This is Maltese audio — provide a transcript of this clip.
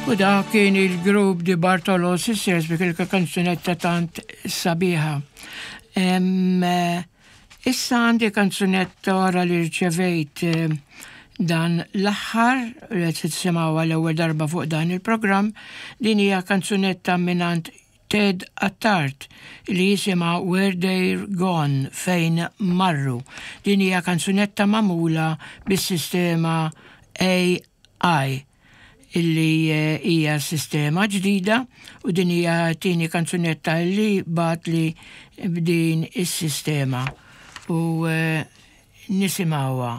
U dak kien il-grupp Di Bartolo Sisters bi il kanzunetta tant sabiħa. Issa għandi kanzunetta wara li rċevejt dan l-aħħar li qed tisimgħuha l-ewwel darba fuq dan il-programm, din hija kanzunetta mingħand Ted Attard li jisimha Where They're Gone, Fejn Marru. Din hija kanzunetta magħmula bis-sistema AI illi hija sistema ġdida u din hija tieni kanzunetta illi bagħatli b'din is-sistema u nisimgħuha.